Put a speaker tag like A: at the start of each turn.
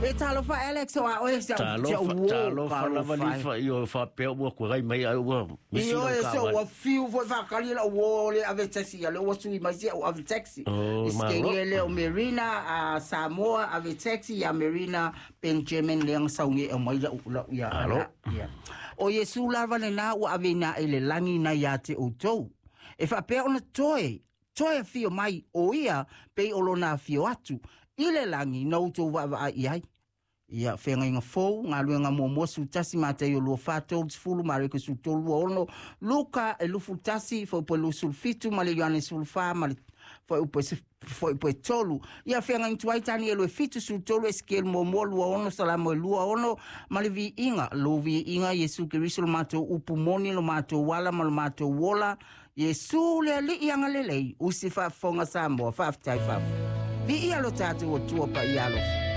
A: E talofa Alex o a oe si
B: au
A: uō.
B: Talofa lava Lifa, ioe faapea ua kuagai mai ai ua misi lau
A: Ioe, se
B: taavale.
A: ua fiu foi faakali lau uō le ave taxi, ia lea ua sui mai si au ave taxi.
B: Oh,
A: I
B: malo.
A: Sikegia lea o Marina a Samoa ave taxi ia Marina Benjamin lea na sauni e aumai lau lau ia
B: Malo.
A: Ia. O Iesu lava lenā ua aveina ae i le lagi nai ia te outou, e faapea ona toe toe afio mai o ia pei o lona afio atu i le lagi na outou vaavaai i ai. Ia, Feagaiga Fou, Galuega Muamua 11, Mataio 24, 30, Mareko 13, 26, Luka 21, Fuaiupu 27 ma le Ioane 14 ma le Fuaiupu Fuaiupu 3. Ia, Feagaiga Tuai, Tanielu 7, 13, Esekielu 1, 26, Salamo 26 ma le Viiga. Lou Viiga, Iesu Keriso lo matou upu moni, lo matou ala ma lo matou ola, Iesu le Alii agalelei, usi faafofoga Samoa, faafetai faafetai. Viia lo tatou Atua paia alofa.